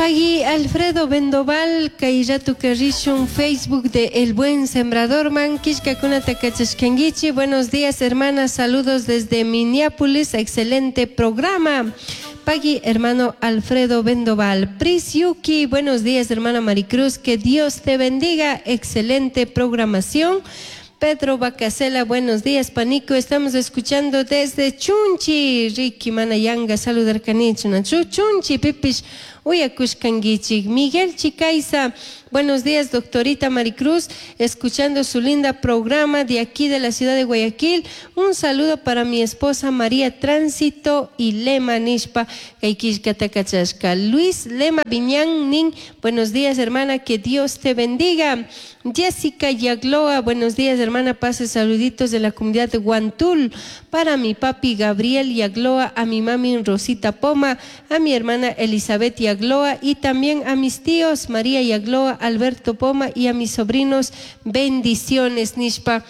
Pagui Alfredo Bendoval, kay ratuka rishun Facebook de El Buen Sembrador man, killkakunata kachashkankichi. Buenos días, hermanas, saludos desde Minneapolis, excelente programa. Pagui, hermano Alfredo Bendoval. Pris Yuki, buenos días, hermana Maricruz, que Dios te bendiga, excelente programación. Pedro Bacasela, buenos días, Panico. Estamos escuchando desde Chunchi. Ricky Manayanga, saludar canichu. Chunchi, Pipish, uyakushkanguichik. Miguel Chicaiza, buenos días, doctorita Maricruz, escuchando su linda programa de aquí de la ciudad de Guayaquil. Un saludo para mi esposa María Tránsito y Lema Nishpa, Kaikishka. Luis Lema Viñán Nin, buenos días, hermana, que Dios te bendiga. Jessica Yagloa, buenos días, hermana, pase saluditos de la comunidad de Guantul para mi papi Gabriel Yagloa, a mi mami Rosita Poma, a mi hermana Elizabeth Yagloa y también a mis tíos María Yagloa, Alberto Poma y a mis sobrinos. Bendiciones, Nishpa.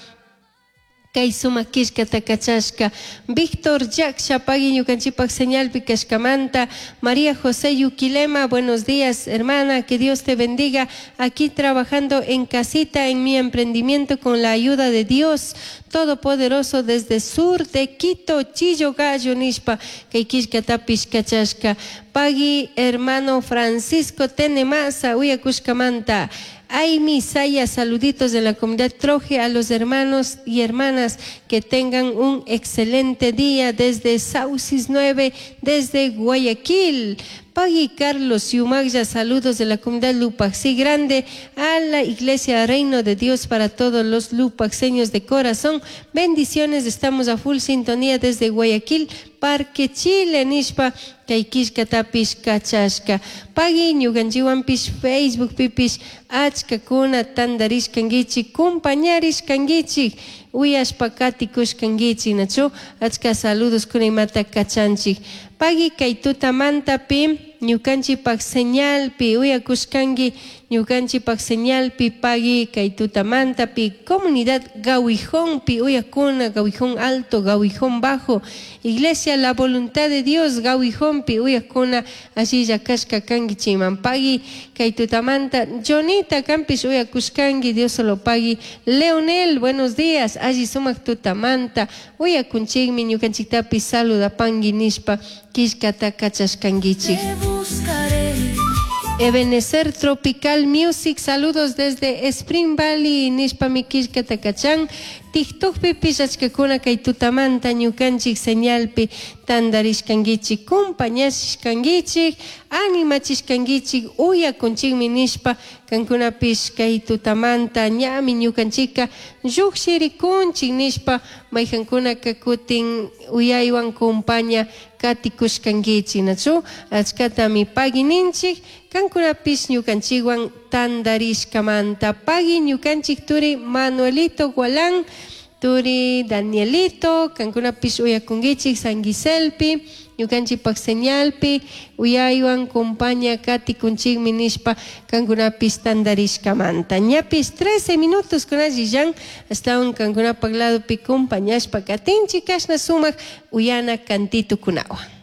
Kay sumak killkata kachashka. Víctor Jack pagui ñukanchikpak señalpi kashkamanta. María José Yuquilema, buenos días, hermana, que Dios te bendiga. Aquí trabajando en casita, en mi emprendimiento con la ayuda de Dios Todopoderoso desde sur de Quito, Chillo Gallo, Nishpa, kay killkatapish kachashka. Pagui, hermano Francisco Tenemasa, uyakushkamanta. Ay, Saya, saluditos de la comunidad Troje a los hermanos y hermanas que tengan un excelente día desde Saucis 9, desde Guayaquil. Pagui Carlos Yumagya, saludos de la comunidad Lupaxí Grande a la Iglesia Reino de Dios para todos los lupaxeños de corazón. Bendiciones, estamos a full sintonía desde Guayaquil, Parque Chile, Nishpa, kay killkatapish kachashka. Pagui ñukanchikwanpish Facebook pipish achkakuna tantarishkankichik, compañarishkankichik, uyashpa katikushkankichik, nachu achka saludos kuna imata kachanchik. Pagui kay tutamantapi ñukanchikpak señalpi uyakushkanki ñukanchikpak señalpi pagui kay tutamantapi comunidad Gawijonpi uyakuna Gawijón Alto, Gawijón Bajo, Iglesia La Voluntad de Dios Gawijonpi uyakuna allilla kashka kankichikman. Pagui kay tutamanta Jonita kampish uyakushkanki, Dios solo pagui. Leonel, buenos días, alli sumak tutamanta uyakunchikmi ñukanchiktapi saludapanki nishpa killkata kachashkankichik. Ebenezer Tropical Music, saludos desde Spring Valley, nishpa mi killkata kachan. TikTokpi achkakuna kay tutamanta ñukanchik señalpi tantarishkankichik, compañashkankichik, animachishkankichik, uyakunchikmi nishpa kankunapish kay tutamanta ñami ñukanchikka llukshirikunchik nishpa mayjankunaka kutin uyaywan compaña katikushkankichik, nachu achkatami pagui ninchik kankunapish ñukanchikwan tantarishkamanta. Pagui ñukanchik turi Manuelito Gualán, turi Danielito, kankunapish uyakunkichik San Giselpi, ñukanchikpak señalpi, uyaywan compaña katikunchikmi nishpa kankunapish tantarishkamanta. Ñapish 13 minutos kunallillan, astawan kankunapak ladopi compañashpa katinchik kashna sumak uyana kantitukunawan.